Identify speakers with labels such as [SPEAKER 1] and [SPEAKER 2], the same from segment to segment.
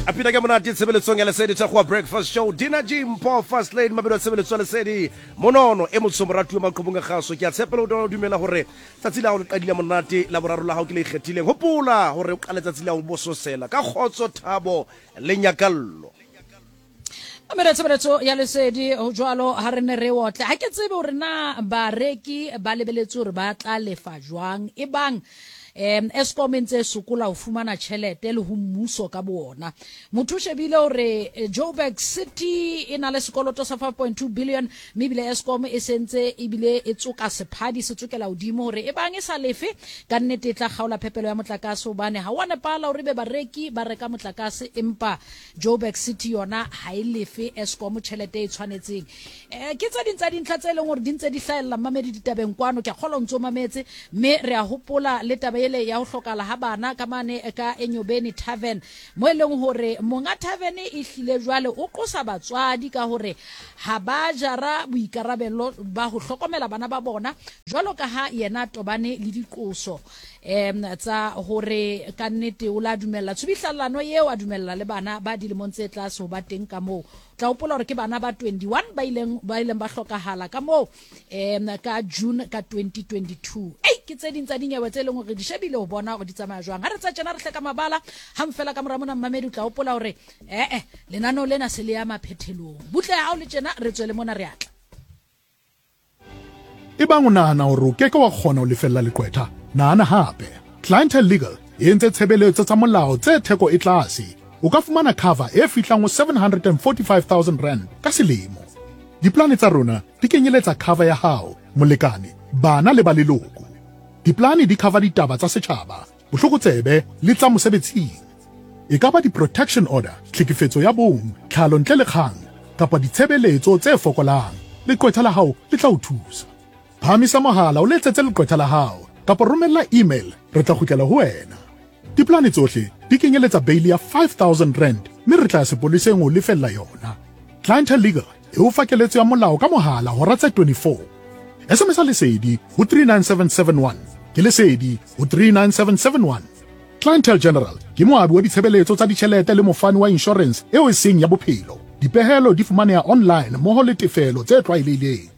[SPEAKER 1] A pina ke monate tshebeletsong ya Lesedi Thakgowa Breakfast Show. Dina G Mpho First Lady mabelo a tshebeletso ya Lesedi. Monono e motsho moratuwa maqhubung a kgaso. Ke a tshepela o dumela hore tsatsi la hao le qadile monate la boraro la hao ke le ikgethileng. Hopola hore o qale tsatsi la ho bososela ka kgotso, thabo le nyakallo.
[SPEAKER 2] Mamela tshebeletso ya Lesedi ho jwalo ha re ne re otle. Ha ke tsebe hore na bareki ba lebeletse hore ba tla lefa jwang ebang um Eskom e ntse e sokola ho fumana tjhelete le ho mmuso ka boona. Motho o shebile hore eh, Joburg City e na le sekoloto sa 5.2 billion mme ebile Eskom e sentse ebile e tsoka sephadi se tsokela hodimo hore e bang e sa lefe ka nnete e tla kgaola phepelo ya motlakase hobane ha wa nepala hore ebe bareki ba reka motlakase empa Joburg City yona ha e lefe Eskom tjhelete e tshwanetseng. Eh, ke tse ding tsa dintlha tse leng hore di ntse di hlahella mmamedi ditabeng kwano, ke a kgolwa o ntse o mametse, mme re a hopola le taba ele ya ho hlokahala ha bana ka mane ka Enyobeni Tavern, mo e leng hore monga tavern e hlile jwale o qosa batswadi ka hore ha ba jara boikarabelo ba ho hlokomela bana ba bona jwalo ka ha yena a tobane le diqoso um tsa hore ka nnete o la dumella tshubihlallano eo, a dumella le bana ba dilemong tse tlase ho ba teng ka moo. Tla hopola hore ke bana ba 21 ba ileng ba ileng ba hlokahala ka moo um ka June ka 2022. Ei, ke tse ding tsa dinyewe tse leng hore di shebile ho bona hore di tsamaya jwang. Ha re tsa tjena re hle ka mabala hang fela ka mora mona mmamedi o tla hopola hore ee lenaneo lena se le ya maphethelong. Butle ya hao le tjena re tswele mona re atla.
[SPEAKER 3] Ebang o nahana hore o ke ke wa kgona ho lefella leqwetha, nahana hape. Clientele Legal e entse tshebeletso tsa molao tse theko e tlase. O ka fumana cover e fihlang ho R745 000 ka selemo. Diplane tsa rona di kenyeletsa cover ya hao, molekane, bana le ba leloko. Diplane di cover ditaba tsa setjhaba, bohlokotsebe le tsa mosebetsing. E ka ba di-protection order, tlhekefetso ya bong, tlhalo ntle le kgang, kapa ditshebeletso tse fokolang, leqwetha la hao le tla o thusa. Phahamisa mohala o letsetse leqwetha la hao kapa romella email re tla kgutlela ho wena. Diplane tsohle di kenyeletsa beili ya R5000 mme re tla ya sepoleseng ho lefella yona. Clientele Legal e o fa keletso ya molao ka mohala hora tse 24. SMS-a Lesedi ho 39771. Ke Lesedi ho 39771. Clientele General ke moabi wa ditshebeletso tsa ditjhelete le mofani wa inshorense eo e seng ya bophelo. Dipehelo di fumaneha online mmoho le tefelo tse tlwaelehileng.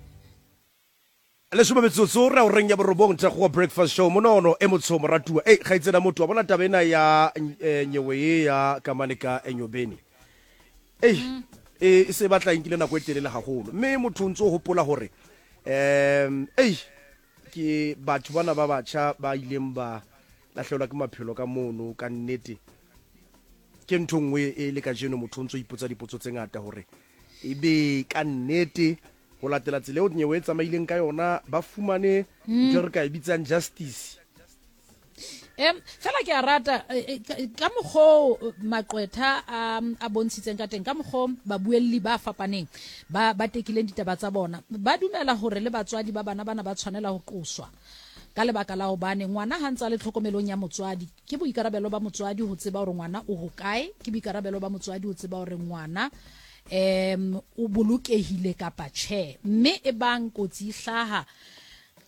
[SPEAKER 1] Lesome metsotso re horeng ya borobong Thakgowa Breakfast Show monono e motsho moratuwa. Ei kgaitsedi motho wa bona taba ena ya eh, nyewe ye ya kamane ka Enyobeni. Ei e e se batla e nkile nako e telele haholo mme motho o ntse o hopola hore um ei ke batho bana ba batjha ba ileng ba lahlehelwa ke maphelo ka mono ka nnete ke ntho nngwe e le kajeno motho o ntse o ipotsa dipotso tse ngata hore ebe ka nnete ho latela tsela eo nyewe e tsamaileng ka yona ba fumane ntho e re ka e bitsang justice.
[SPEAKER 2] Em fela ke a rata eh, eh, ka mokgoo eh, maqwetha a a bontshitseng ka teng ka mokgoo babuelli ba fapaneng ba ba tekileng ditaba tsa bona ba dumela hore le batswadi ba bana bana ba tshwanela ho qoswa ka lebaka la hobane ngwana ha ntse a le tlhokomelong ya motswadi ke boikarabelo ba motswadi ho tseba hore ngwana o hokae ke boikarabelo ba motswadi ho tseba hore ngwana um o bolokehile kapa tjhe mme e bang kotsi e hlaha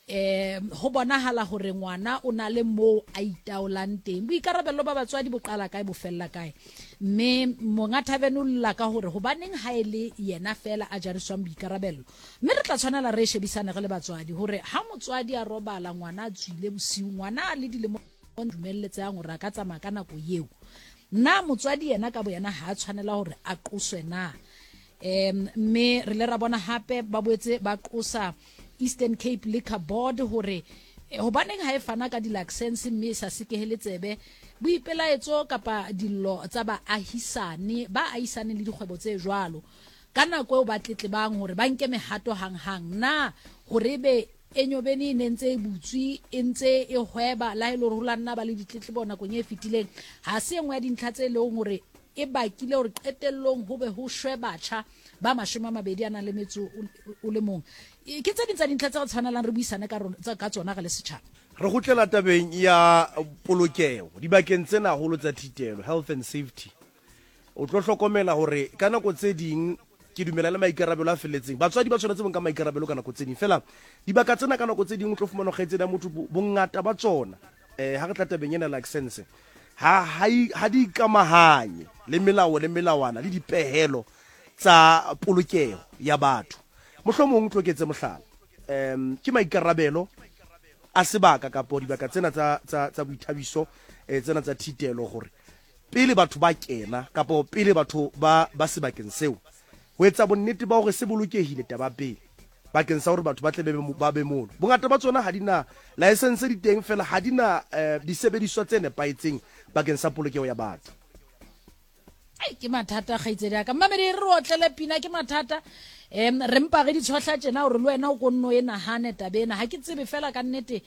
[SPEAKER 2] um ho bonahala hore ngwana o na le moo a itaolang teng boikarabelo ba batswadi bo qala kae bo fella kae mme monga tavern o lla ka hore hobaneng ha e le yena fela a jariswang boikarabelo mme re tla tshwanela re shebisane re le batswadi hore ha motswadi a robala ngwana a tswile bosiu ngwana a le dilemo dumelletsehang hore a ka tsamaya ka nako eo na motswadi yena ka boyena ha a tshwanela hore a qoswe na um mme re le ra bona hape ba boetse ba qosa Eastern Cape Liquor Board hore eh, hobaneng ha e fana ka di-license mme e sa sekehele tsebe boipelaetso kapa dillo tsa baahisane ba ahisaneng le dikgwebo tse jwalo ka nako eo ba tletlebang hore ba nke mehato hang-hang na hore ebe Enyobeni e ne ntse e butswe e ntse e hweba la e le hore ho la nna ba le ditletlebo nakong e fetileng ha se e nngwe ya dintlha tse leng hore e bakile hore qetellong ho be ho shwe batjha ba 20 a nang le metso o le mong. Ke tse ding tsa dintlha tse re tshwanelang re buisane ka tsona re le setjhaba.
[SPEAKER 1] Re kgutlela tabeng ya polokeho dibakeng tsena haholo tsa thitelo, health and safety. O tlo hlokomela hore ka nako tse ding ke dumela le maikarabelo a felletseng. Batswadi ba tshwanetse bo nka maikarabelo ka nako tse ding. Feela dibaka tsena ka nako tse ding o tlo fumana kgaitsedi ya motho bongata ba tsona eh ha re tla tabeng ena license ha ha di ikamahanye. le melao le melawana le dipehelo tsa polokeho ya batho. Mohlomong tlo ke etse mohlala, um ke maikarabelo a sebaka kapo dibaka tsena tsa, tsa, tsa boithabiso eh, tsena tsa thitelo gore pele batho ba kena kapo pele batho ba ba sebakeng seo ho etsa bonnete ba hore se bolokehile taba pele bakeng sa hore batho ba tle ba be mono. Bongata ba tsona ha di na laesense di teng fela ha di na eh, disebediswa tse nepahetseng bakeng sa polokeho ya batho.
[SPEAKER 2] Ai, ke mathata kgaitsedi ya ka mmamedi re otlele pina ke mathata um re mpa re di tshohla tjena gore le wena o ko nno e nagane tabe ena ga ke tsebe fela ka nnete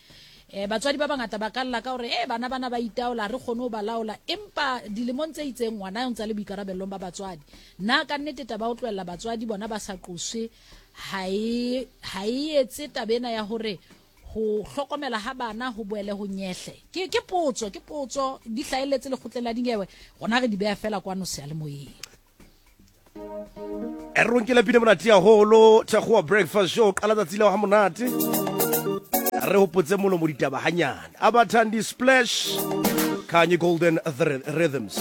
[SPEAKER 2] um batswadi ba bangata ba ka lla ka gore e bana bana ba itaola re kgone go ba laola empa dilemong tse itseng ngwana o ntse a le boikarabellong ba batswadi na ka nnete taba o tlohela batswadi bona ba sa qoswe ha e ha e etse taba ena ya gore ho hlokomela ha bana ho boele ho nyehle ke ke potso ke potso di hlaeletse lekgotleng la dinyewe rona re di beha fela kwano seyalemoyeng.
[SPEAKER 1] E re ronkele pina monate haholo thakgowa breakfast show qala tsatsi leo ha monate re hopotse molomo ditaba hanyane abathandi splash kanye golden rhythms.